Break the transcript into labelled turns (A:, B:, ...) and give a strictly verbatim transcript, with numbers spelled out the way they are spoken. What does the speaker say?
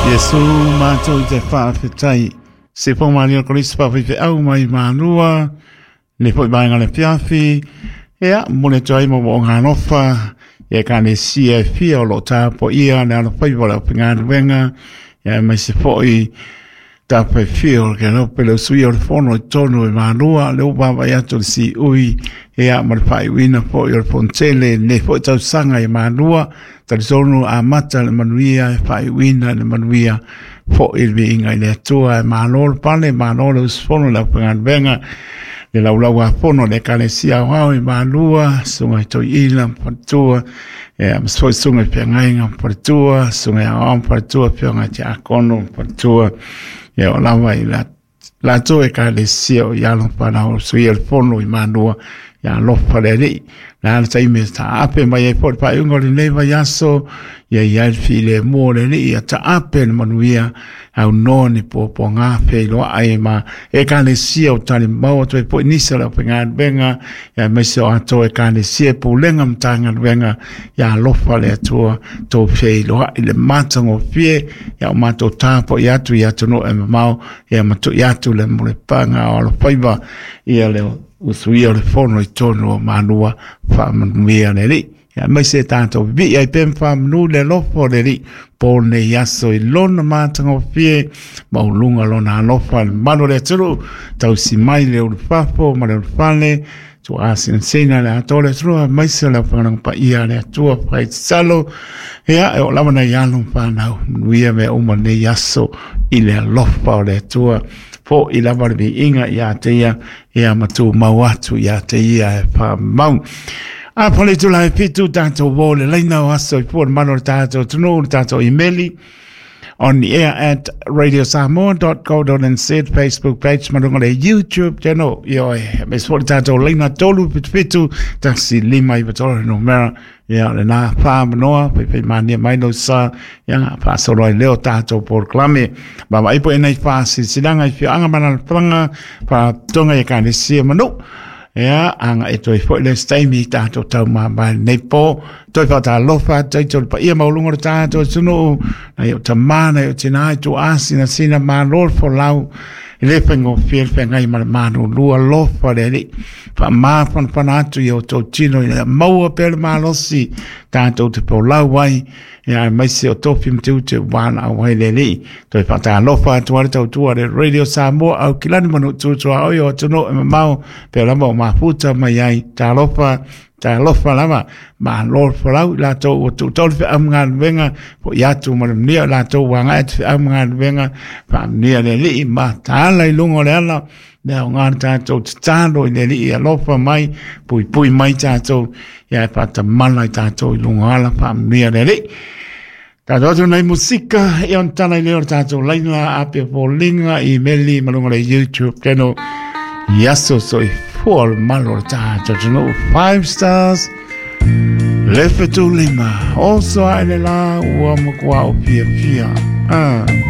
A: Iesu matou te faafetai se fo malia Kristo faafeifeau mai Malua le foi vaega le fiafi ia mo le atu ai mo mo'oga alofa ia ekalesia e fia o lo'o tapua'ia le alofaiva o le aufaigaluega ia aemaise fo'i tafaifia o le kelope le usuia o le fono i totonu i Malua le ua vaavaai atu le siui ia ma le faaiuina fo'i o le fonotele i lenei fo'i tausaga i Malua. Talitonu amata le manuia e faaiuina le manuia fo'i le viiga i le Atua e malo le pale malo le usufono le aufaigaluega le laulau a fono le ekalesia aoao i Malua susuga i toeaina ma faletua ia ma foi susuga i feagaiga ma faletua susuga i aoao ma faletua afioga i tiakono ma faletua ia o lava i la latou ekalesia o i alo fanau suia le fono i Malua ia alofa le Alii la le taimi e taape mai ai foi le faaiuga o lenei vaiaso ia i ai le filemu o le Alii ia taape le manuia aunoa ni puapuaga feiloai ma ekalesia o talimau atu ai foi nisi o le aufaigaluega ia aemaise o atoa ekalesia e pulega ma Matagaluega ia alofa le Atua tou feiloai le matagofie ia o matou tapuai atu i atunuu e mamao ia ma tui atu le mulipaga o alofaiva ia le usuia o le fono i totonu o Malua faamanuia le Alii ia aemaise tatou vivii ai pea ma faamanu le alofa o le Alii po lenei aso i lona matagofie ma uluga lona alofa le mamalu o le atunuu tausi mai le ulufafo ma le ulufale tuuasinasina le atoa le atunuu aemaise o le aufaigaluega paia a le Atua fai tatalo ia e oo lava nai alo ma fanau manuia mea uma lenei aso i le alofa o le Atua fo'i lava le viiga ia te ia ia ma tumau atu ia te ia e faamau. A po le itula e fitu tatou uō le laina o aso i fua le mamalu o le tatou atunuu le tatou imeli on the air at radiosamoa dot co dot N Z, Facebook page ma luga le YouTube channel. Ioe, aemaise foi le tatou laina tolu fitu fitu tasi lima iva tolu numera ia lena faamanoa faifai mai lou sa ia faasolo ai lea o tatou polokalame vaavaai po enei faasilasilaga i afioaga ma alaalafaga faalapotopotoga i ekalesia ma nuu ia aga e toe foi le taimi tatou taumamae lenei po toe faatalofa atu ai le paia maualuga o le tatou atunuu nai o tamā nai o tinā i tuuasinasina malo le folau e le faigofie le feagai ma le malulu alofa le Alii faamafanafana atu i outou tino ina ia maua pea le malosi tatou te folau ai ia aemaise o tofi ma tiute ua valaau ai le Alii toe faatalofa atu ai le tautua le Radio Samoa Aukilani ma Nuu tuaoi o atunuu e mamao pea lava o mafuta mai ai talofa talofa lava malo le folau i latou ua tuutau le feau ma galuega fo'i atu ma le manuia o latou ua agai atu feau ma galuega faamanuia le Alii ma taala i luga o le ala le aoga le tatou tatalo i le Alii alofa mai puipui mai tatou ia e faatamala i tatou i luga o ala faamanuia le Alii tatou atu nei musika ia ona tala i lea o le tatou laina ape foliga imeli ma luga o le YouTube channel i aso soifua le mamalu o le tatou atunuu. Five Stars le fetulima oso ae le la ua matua o fiafia ah.